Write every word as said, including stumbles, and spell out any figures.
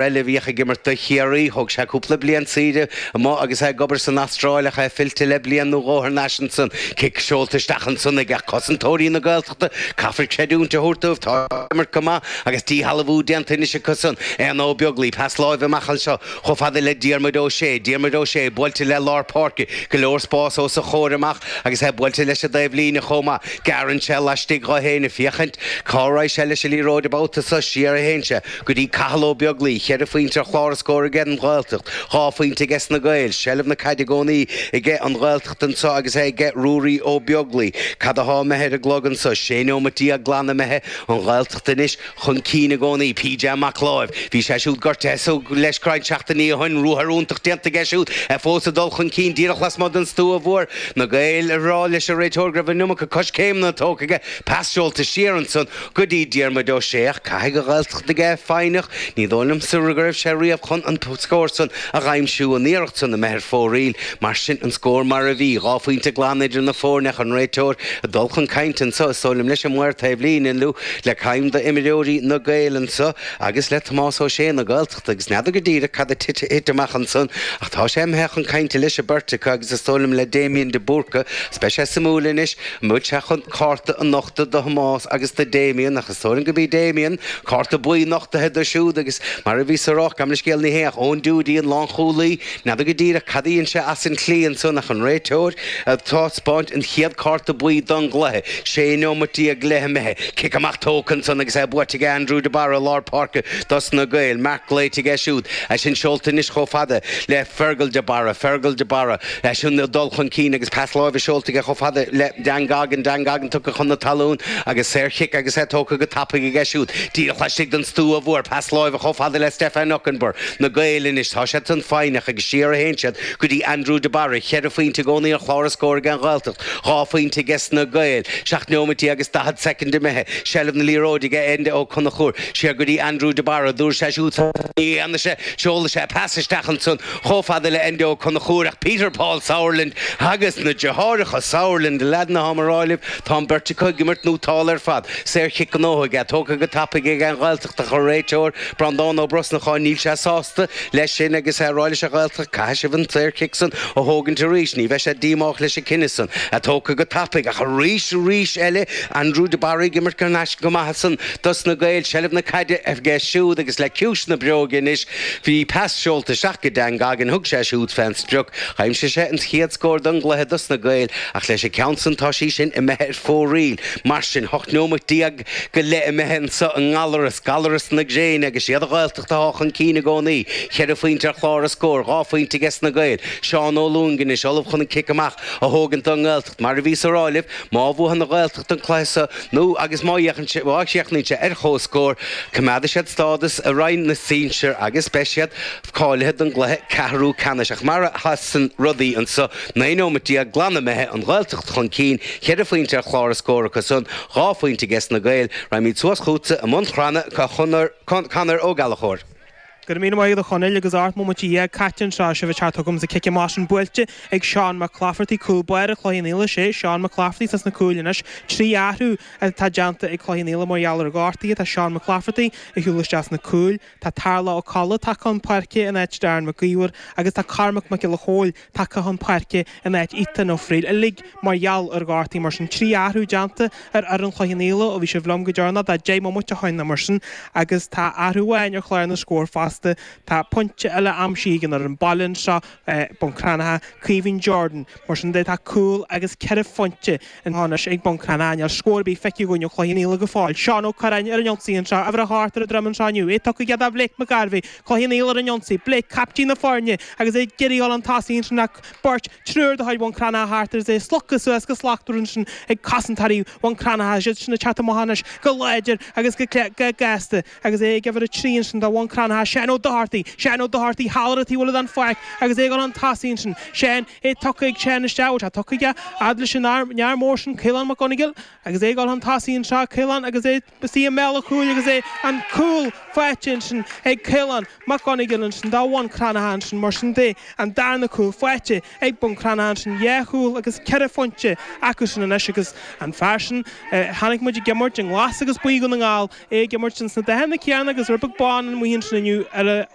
eile a bhíodh ag imirt do Chiarraí, thóg sé cúpla bliain saoire amuigh agus é ag obair san Astráil ach é fillte le bliain nó dhó thar n-ais ansan. Cic seolta isteach ansan ag cosantóirí na Gaeltachta, caithfear creidiúint a thabhairt dóibh, tá ag imirt go maith agus díshealbhú déanta anois acu san. Éanna Ó Beaglaoi, pas láimhe amach anseo chomh fada le Diarmuid Ó Sé, Diarmuid Ó Sé buailte le lár páirce, go leor spás os a chomhair amach agus é buailte leis an dtaobhlíne chomh maith. Gearrann sé laistigh dho fhéin ag féachaint cá raghaidh sé leis an liathróid an babhta seo, siar a théann sé go dtí Cathal Ó Beaglaoi, cheithre phointe ar chlár a scóir aige an Ghaeltacht, dhá phointe aige na Gaeil, seilbh na caide i gcónaí aige an Ghaeltacht anseo agus é aige Ruairí Ó Beaglaoi. Cad atá imithe ar an gclog anseo? Sé neomat déag glan imithe an Ghaeltacht anois chun cinn i gcónaí. PJ Mac Láimh, bhí sé siúd gortaithe so leis roinnt seachtainí ó shin, ruathar iontach déanta aige siúd, é fós ag dul chun cinn díreach lasmuigh den stua mhór. Na Gaeil ag rá leis an réiteoir go raibh an iomarca coiscéimeanna tógtha aige, pas seolta siar ansan go dtí Diarmuid Ó Sé ach caithfidh an Ghaeltacht a bheith foighneach, ní dóigh liomsa go raibh sé riamh chun an scór san a dh'aimsiú, an iarracht san imithe ar fóraoil. Mar sin, an scór mar a bhí, dhá phointe glan idir na foirne ach an réiteoir ag dul chun cainte anseo, is dóigh liom, leis an maor taobhlíne, nó le ceann d'imreoirí na Gaeil anseo agus le Tomás Ó Sé na Gaeltachta agus n'fheadar go díreach cad a thit amach ansan ach tá sé imithe chun cainte leis an beirt acu agus is dóigh liom le Damien de Búrca. Is beidh sé suimiúil anois an bhfuil sé chun cárta a nochtadh do Thomás agus do Damien ach is dóigh liom go b'í Damien, cárta buí nochtaithe dó siúd agus mar a bhíos a rá, gabh mo leithscéal ní hé ach Eoin Doody an lánchúlaí, n'fheadar go díreach cad a dhein sé as an tslí ansan ach an réiteoir ag taispeáint an chéad cárta buí don gcluiche. Sé neomat déag go leith imithe. Cic amach tógtha ansan agus é buaite ag Andrew de Barra i lár páirce dos na Gaeil. Marc glaoite aige siúd. É sin seolta anois chomh fada le Fergal de Barra. Fergal de Barra. É sin ag dul chun cinn agus pas láimhe seolta aige chomh fada le Dan Goggin. Dan Goggin tugtha chun na talún agus saorchic agus é tógtha go tapaidh aige siúd. Díreach laistigh den stua mhór. Pas láimhe chomh fada le Stefan Okunbor. Na Gaeil anois, tá siad san foighneach agus siar a théann siad go dtí Andrew de Barra. Cheithre phointe i gcónaí ar chlár a scóir ag an Ghaeltacht, dhá phointe aige na Gaeil. Seacht neomat déag agus daichead soicind imithe. Seilbh na liathróide aige Enda Ó Conchúir. Siar go dtí Andrew de Barra. Dúirt sé siúd ní dhéanfaidh sé. Seolfaidh sé pas isteach ansan chomh fada le Enda Ó Conchúir ach Peter Paul Sauerland agus na deartháireacha Sauerland, a leaideanna táim a rá libh, tá an bheirt acu ag imirt nótálta ar fad. Saorchic gnóthaithe aige, tógtha go tapaidh ag an Ghaeltacht ach an réiteoir, Breandán Ó Brosnacháin, níl sé sásta leis sin agus é ag rá leis an Ghaeltacht, caithfidh sibh an saorchic san a thógaint arís. Ní bheidh sé díomách leis an cinneadh san, é tógtha go tapaidh ach arís, arís eile, Andrew de Barra ag imirt thar n-ais go maith ansan dos na Gaeil, seilbh na caide aige siúd agus le ciumhais na bréige anois, bhí pas seolta isteach go Dan Goggin, thug sé siúd fén sprioc, d'aimsigh sé an chéad scór don gcluiche dos na Gaeil ach leis an ceann san tá sí sin imithe ar fóraoil. Mar sin, hocht neomat déag go leith imithe anso i nGallaras, Gallaras na gréine agus siad an Ghaeltacht atá chun cinn i gcónaí. Ceithre phointe ar chlár a scóir, dhá phointe aige na Gaeil. Seán Ó Lúing anois, ullamh chun an cic amach a thógaint don nGaeltacht. Mar a bhíos a rá libh, má bhuann an Ghaeltacht an cluiche seo nó agus má má chríochnaíonn sé ar chomhscór, coimeádfaidh siad stádas i Roinn na Sinsear agus beidh siad cáilithe don gcluiche ceathrú ceannais. Ach mar a sheasann rudaí anso, naoi neomat déag glan imithe, an Ghaeltacht chun cinn, ceithre phointe ar chlár a scóir acu san, dhá phointe aige na Gaeil. Raghaimid suas chugatsa i mbun Cranncha, Conor Ó Gallchóir. Go raibh míle maith agat a Chonaill agus ocht mbomaite dhéag caite anseo sibh ag teacht chugam sa cic amach sin buailte ag Seán Mac Claifertaigh cúl báire Chloich Cheann Fhaola sé Seán Mac Claifertaigh sna cúil anois trí athrú atá déanta ag Cloich Cheann Fhaola mar gheall ar ghortuithe tá Seán Mac Claifertaigh ag siúl isteach sna cúil tá Tarlach Ó Colla tagtha chun páirce in áit Darren Mac Íomhair agus tá Cormac Mac Giolla Chóill tagtha chun páirce in áit Ethan Ó Frighil uilig mar gheall ar ghortuithe mar sin trí athrú déanta ar fhoireann Chloich Cheann Fhaola ó bhí sibh liom go deireanach tá deich mbomaite ó shin mar sin agus tá athrú amháin ar chlár na scór fosta tá pointe eile aimsithe ag an fhoireann baile anseo Bun Cranncha Caoimhín Jordan mar sin de tá cúl agus ceithre phointe anois ag Bun Cranncha níl scór ar bith feicthe againn ó Chloich Cheann Fhaola go fóill Seán Ó Curráin ar an ionsaí anseo uimhir a hocht ar a dhroim anseo inniu é tugtha aige do Blake McGarvey Cloich Cheann Fhaola ar an ionsaí Blake captaen na foirne agus é ag iarraidh dul chun tosaigh ansin ach beirt triúr de chuid Bhun Cranncha thart agus é slogtha suas go slachtmhar ansin ag cosantóirí Bhun Cranncha siad sin ag teacht amach anois go láidir agus go go gasta agus é ag uimhir a trí ansin do Bhun Cranncha Seán Ó Dochartaigh Seán Ó Dochartaigh thall ar an taobh eile den pháirc agus é ag dul chun tosaigh ansin Seán é tugtha ag Seán isteach tá tugtha aige fhad leis an fhear mór sin Caolán Mac Gonigal agus é ag dul chun tosaigh anseo Caolán agus é istigh i mbéal an chúil agus é an cúl faighte ansin ag Caolán Mac Gonigal ansin do Bhun Cranncha ansin mar sin de an darna cúl faighte ag Bun Cranncha ansin dhá chúl agus ceithre phointe acu sin anois agus an fear sin chonaic muid ag imirt i nglas agus buí Dhún na nGall é ag imirt sna dathanna céanna agus rud beag bán amuigh ansin inniu ar a